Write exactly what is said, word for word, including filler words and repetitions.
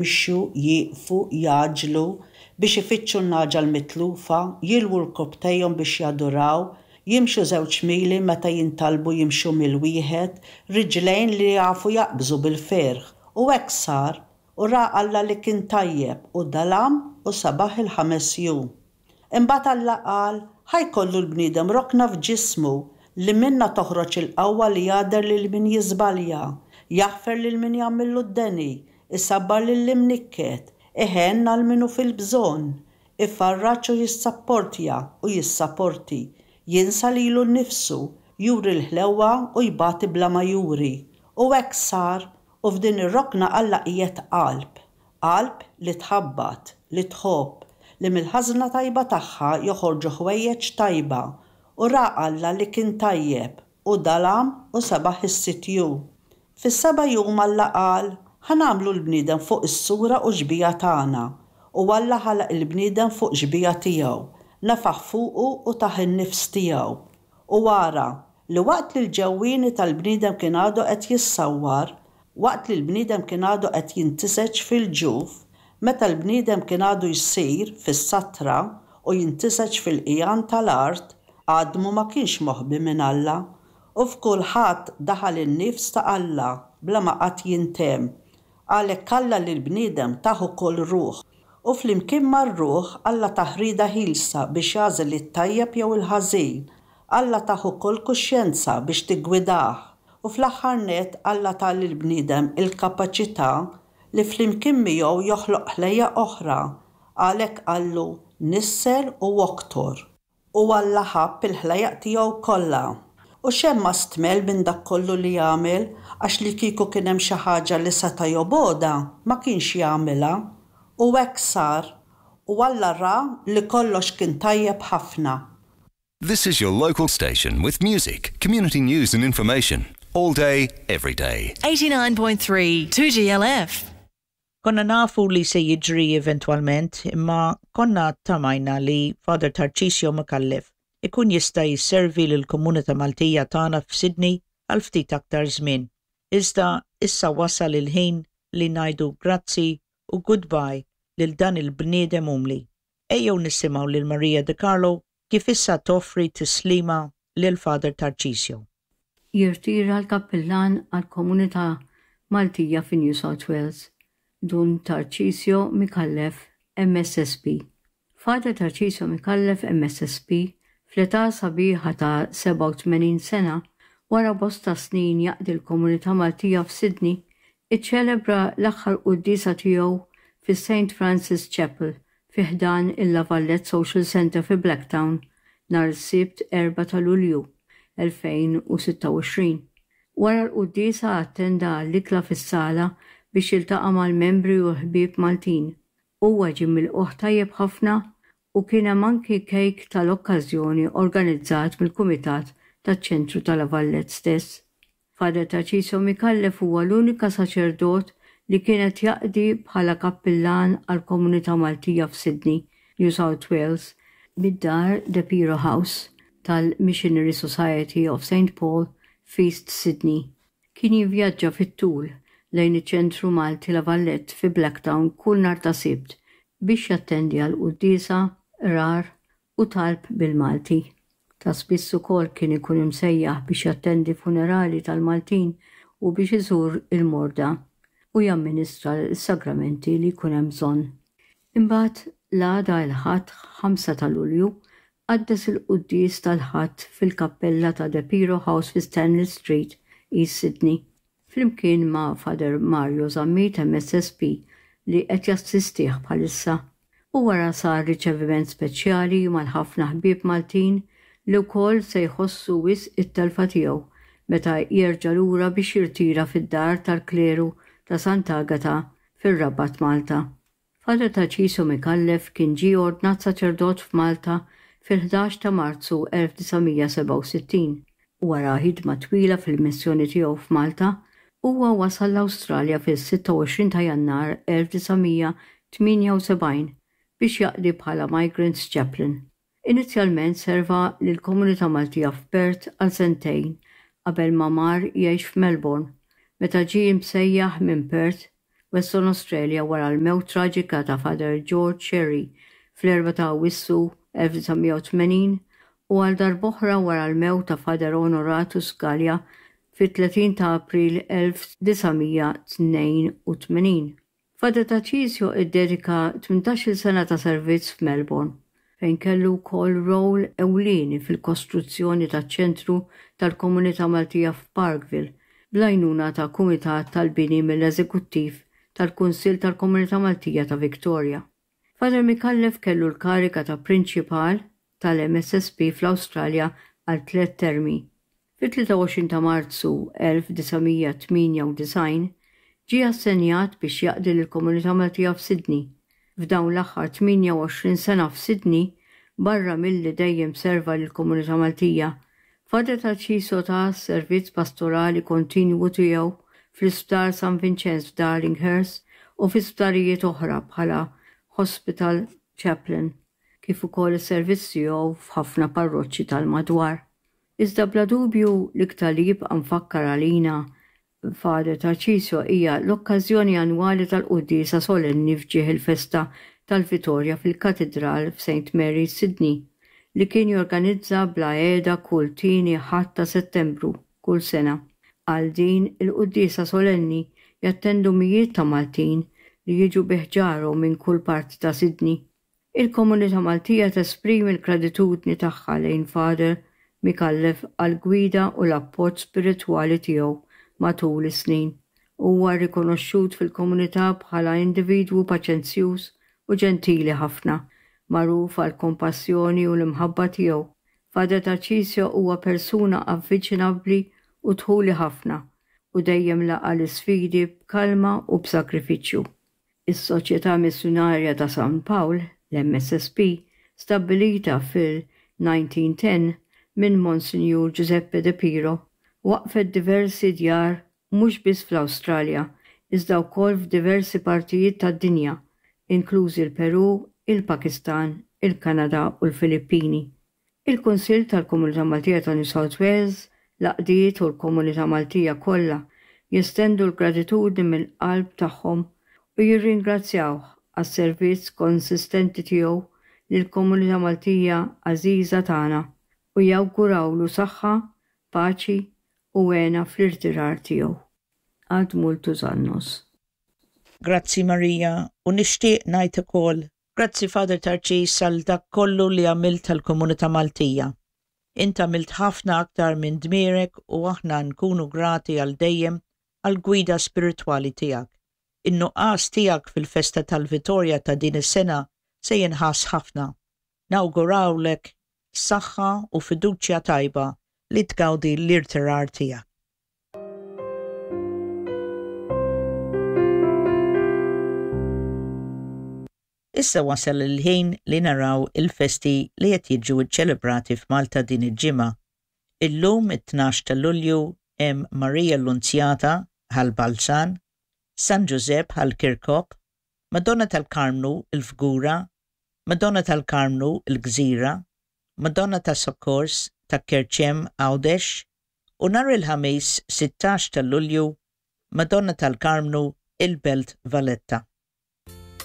Jimxu, jieqfu, jgħaġġlu biex ifittxu n-nagħġa l-mitlufa, jilwu rkopptejhom biex jaduraw, jimxu żewġ mili meta jintalbu jimxu mil wieħed, riġlejn li jafu jaqbżu bil-ferħ. U hekk sar, u ra Alla li kien tajjeb, u dalam u sabaħ il-ħames jum. Imbagħad Alla qal, ħa jkollu l-bniedem rokna f'ġismu li minnha toħroġ il-qawwa li jagħder lil min jiżbalja, jaħfer lil min jagħmillu d-deni, isabbar lil imnikket, iħenn għal min hu fil-bżonn, ifarraġ u jissapportja u jissaporti, jinsa lilu nnifsu, juri l-ħlewwa u jbati bla ma juri. U hekk sar, u f'din ir-rokna Alla qiegħed qalb, qalb li tħabbat, li tħobb, li mill-ħażna tajba tagħha joħorġu ħwejjeġ tajba, u ra Alla li kien tajjeb, u dalam u sebaħ is-sitt jum. Fis-seba' jum Alla qal, ħa nagħmlu l-bniedem fuq is-sura u xbieha tagħna, u Alla ħalaq il-bniedem fuq xbieha tiegħu, nefaħ fuqu u tah in-nifs tiegħu. U ara, li waqt li l-ġewwieni tal-bniedem kien għadu qed jissawwar, waqt li l-bniedem kien għadu qed jintiseġ fil-ġuf, meta l-bniedem kien għadu jsir fis-satra u jintiseġ fil-qigħan tal-art, għadmu ma kienx moħbi minn Alla, u f'kulħadd daħal in-nifs ta' Alla bla ma qatt jintemm. Għalhekk Alla lill-bniedem tah ukoll ruħ, u flimkien mar-ruħ Alla tah rieda ħielsa biex jagħżel it-tajjeb jew il-ħażin. Alla tah ukoll kuxjenza biex tiggwidah, u fl-aħħar nett Alla ta lill-bniedem il-kapaċità li flimkien miegħu joħloq ħlejjaq oħra, għalhekk qallu nissel u oktor. U Alla ħabb il-ħlejjaq tiegħu kollha. U xejn ma stmell minn dak kollu li għamel, għax li kieku kien hemm xi ħaġa li seta' jobgħodha, ma kienx jagħmilha. U hekk sar, u Alla ra li kollox kien tajjeb ħafna. This is your local station with music, community news and information. All day, every day. eighty-nine point three two G L F. Konna nafu li se jiġri eventwalment, imma konna tamajna li Father Tarcisio Micallef ikun jista' jisservi lill-komunità Maltija tagħna f'Sydney għal ftit aktar żmien. Iżda issa wasal il-ħin li ngħidu grazzi u goodbye lil dan il-bniedem umli. Ejjew nisimgħu lil Maria De Carlo kif issa toffri tislima lil Father Tarcisio. Jirtira l-kappillan għal-komunità Maltija fi New South Wales, Dun Tarcisio Micallef, M S S P. Father Tarcisio Micallef M S S P, fl-età sabiħa ta' sebgħa u tmenin sena, wara bosta snin jaqdi l-komunità Maltija f'Sydney, iċċelebra l-aħħar quddiesa tiegħu fi Saint Francis Chapel fi ħdan il-La Valette Social Center fi Blacktown nhar is-Sibt erbgħa ta' Lulju elfejn u sitta u għoxrin. Wara l-quddiesa attenda għall-ikla fis-sala biex jiltaqa' mal-membri u l-ħbieb Maltin. Huwa ġie milqugħ tajjeb ħafna u kien hemm anki kejk tal-okkażjoni organizzat mill-Kumitat taċ-Ċentru tal-La Valette stess. Father Tarcisio Micallef huwa l-unika saċerdot li kienet jaqdi bħala kappillan għal komunità Maltija f'Sydney, New South Wales, mid-dar De Piro House tal-Missionary Society of Saint Paul f'East Sydney. Kien jivvjaġġa fit-tul lejn iċ-ċentru Malti La Valette fi Blacktown kull nhar ta' Sibt biex jattendi għal quddiesa, qrar u talb bil-Malti. Ta' spiss ukoll kien ikun imsejjaħ biex jattendi funerali tal-Maltin u biex iżur il-morda u jamministra l-sagramenti li jkun hemm bżonn. Imbagħad l-għada il-Ħadd ħamsa ta' Lulju qaddes il-quddies tal-Ħadd fil-kappella ta' De Piro House fi Stanley Street, East Sydney, flimkien ma' Father Mario Zammit M S S P li qed jassistih bħalissa. U wara sar riċeviment speċjali mal-ħafna ħbieb Maltin li wkoll se jħossu wisq it-telfa tiegħu meta jerġa' lura biex jirtira fid-dar tal-kleru ta' Sant'Agata fir-Rabat Malta. Father Tarcisio Micallef kien ġie ordnat saċerdot f'Malta fil-ħdax ta' Marzu elf disa' mija sebgħa u sittin. Wara ħidma twila fil-missjoni tiegħu f'Malta, huwa wasal l-Awstralja fil-sitta u għoxrin ta' Jannar elf disa' mija tmienja u sebgħin biex jaqdi bħala Migrants Chaplain. Inizjalment serva lill-komunità Maltija f'Perth għal sentejn qabel ma mar jgħix f'Melbourne. Meta ġie msejjaħ minn Perth Western Australia wara l-mewt traġika ta' Father George Scerri fl-erbgħa ta' Awwissu elf disa' mija u tmenin u għal darb'oħra wara l-mewt ta' Father Honoratus Galea fit-tletin ta' April elf disa' mija tnejn u tmenin. Father Tarcisio iddedika tmintax-il sena ta' servizz f'Melbourne, fejn kellu wkoll rol ewlieni fil-kostruzzjoni taċ-ċentru tal-Komunità Maltija f'Parkville, bl-għajnuna ta' Kumitat tal-Bini mill-Eżekuttiv tal-Kunsill tal-Komunità Maltija ta' Victoria. Father Micallef kellu l-kariga ta' Prinċipal tal-M S S P fl-Awstralja għal tliet termi. Fit-tlieta u għoxrin ta' Marzu elf disa' mija tmienja u disgħin ġie assenjat biex jaqdi lill-Komunità Maltija f'Sydney. F'dawn l-aħħar tmienja u għoxrin sena f'Sydney, barra milli dejjem serva lill-Komunità Maltija, Father Tarcisio ta' servizz pastorali kontinwu tiegħu fl-Isptar San Vincenz f'Darlinghurst u fi sptarijiet oħra bħala Hospital Chaplain, kif ukoll is-servizz tiegħu f'ħafna parroċċi tal-madwar. Iżda bla dubju l-iktar li jibqa' mfakkar għalina Father Tarcisio hija l-okkażjoni annwali tal-quddiesa solenni f'ġieħ il-festa tal-Vitorja fil-Katedral f'Saint Mary's Sydney, li kien jorganizza bla għeda kull tieni Ħadd ta' Settembru kull sena. Għal din il-quddiesa solenni jattendu mijiet ta' Maltin li jiġu biħġarhom minn kull parti ta' Sydney. Il-komunità Maltija tesprimi l-gratitudni tagħha lejn Father Micallef għal-gwida u l-appoġġ spiritwali tiegħu matul is-snin. Huwa rikonoxxut fil-komunità bħala individwu paċenzjuż u ġentili ħafna, magħruf għall-kompassjoni u l-imħabba tiegħu. Father Tarcisio huwa persuna avviċinabbli u dħuli ħafna u dejjem laqa' l-isfidi b'kalma u b'sakrifiċċju. Is-Soċjetà Missjunarja ta' San Pawl, l-M S S P, stabbilita fil-nineteen ten minn Monsignor Giuseppe De Piro, waqfet diversi djar mhux biss fl-Awstralja, iżda wkoll f'diversi partijiet tad-dinja, inklużi l-Peru, il-Pakistan, il-Kanada u l-Filippini. Il-Kunsill tal-Komunità Maltija ta' New South Wales, l-għaqdiet u l-Komunità Maltija kollha jestendu l-gratitudni mill-qalb tagħhom u jirringrazzjawh għas-servizz konsistenti tiegħu lill-Komunità Maltija għażiża tagħna u jawgurawlu saħħa, paċi u hena fl-irtirar tiegħu. Ad multos annos. Grazzi Marija, u nixtieq ngħid ukoll grazzi Father Tarċis għal dak kollu li għamilt tal-Komunità Maltija. Int għamilt ħafna aktar minn dmirek u aħna nkunu grati għal dejjem għal gwida spiritwali tiegħek. In-nuqqas tiegħek fil-festa tal-Vitorja ta' din is-sena se jinħass ħafna. Nawgurawlek saħħa u fiduċja tajba li tgawdi l-irtirar tiegħek. Issa wasal il-ħin li naraw il-festi li qed jiġu ċċelebrati f'Malta din il-ġimgħa. Illum it-tnax ta' Lulju hemm Marija Lunzjata Ħal Balzan, San Ġużepp Ħal Kirkop, Madonna tal-Karmnu il-Fgura, Madonna tal-Karmnu il-Gżira, Madonna ta' Sokkors ta' Kerċem Għawdex, u nhar il-Ħamis sittax ta' Lulju Madonna tal-Karmnu il-Belt Valletta.